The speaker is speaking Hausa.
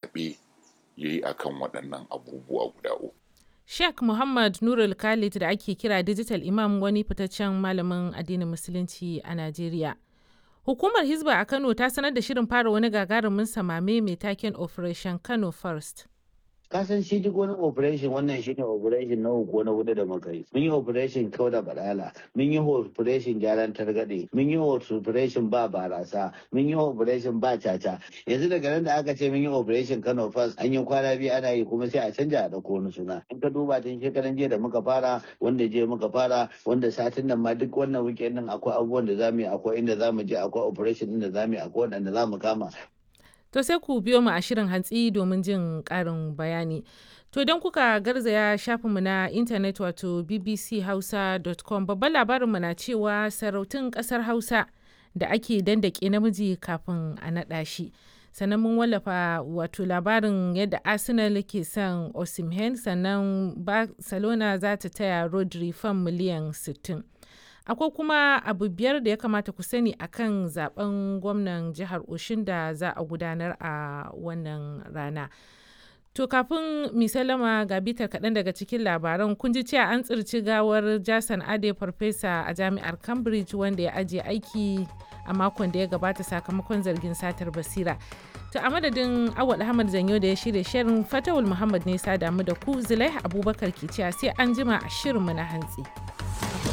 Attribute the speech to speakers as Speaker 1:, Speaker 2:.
Speaker 1: Zaɓe ya yi a kan waɗannan abubuwa guda uku.
Speaker 2: Sheikh Muhammad Nurul Khalid da ake kira Digital Imam, wani fitaccen malamin addinin Musulunci a Najeriya. Hukumar Hizba a Kano ta sanar da shirin fara wani gagarumin samame mai taken Operation Kano First.
Speaker 3: Kasan shi duk wani operation, wannan shi ne operation na uku na hudu da muka yi. Mun yi operation kau da balala, mun yi operation gyaran targaɗe, mun yi operation ba barasa, mun yi operation ba caca. Yanzu daga nan da aka ce mun yi Operation Kano First, an yi kwana 2 ana yi, kuma sai a canja a ɗauko wani suna. In ka duba tun shekaran jiya da muka fara, wanda jiya muka fara, wanda satin nan ma, duk wannan weekend din akwai abubuwan da zamu yi, akwai inda zamu je, akwai operation din da zamu yi, akwai waɗanda zamu kama.
Speaker 2: To sai ku biyo mu a shirin hantsi domin jin ƙarin bayani. To don kuka garzaya shafinmu na intanet, wato bbchausa.com, babban labarinmu na cewa sarautun ƙasar Hausa da ake dandake namiji kafin a naɗa shi. Sannan mun wallafa wato labarin yadda Arsenal ke son Osimhen, sannan Barcelona za ta taya Rodri fam miliyan 60. Akwai kuma abu biyar da ya kamata ku sani akan zaben gwamnan jihar Oshin da za a gudanar a wannan rana. To kafin mi salama, ga bitar kaɗan daga cikin labaran. Kun ji cewa an tsirci gawar Jason Ade, farfesa a jami'ar Cambridge wanda ya ajiye aiki a makon da ya gabata sakamakon zargin satar basira. To a madadin Awal Ahmad Zanyo da ya shirya shirin, Fatawul Muhammad ne sa damu da ku, Zulaiha Abubakar ke cewa sai an jima a shirinmu na hantsi.